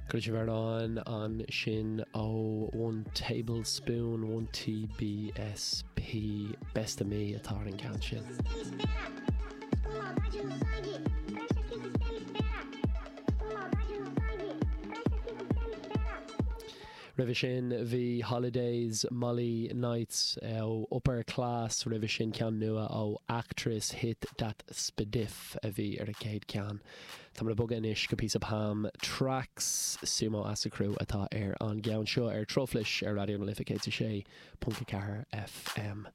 Chuala sibh amhrán ansin ó One Tablespoon, One TBSP, Best of Me atá ar an gceann sin. Roimhe sin bhí Holidays, Molly Nights ó Upper Class, roimhe sin ceann nua ó Actress, Hit That Spadif a bhí ar an chéad ceann. Táimid ag bogadh anois go píosa Pam Tracks, Sumo Asakru atá ar an gceann seo ar Truflais ar Raidió na Life 106.4 FM.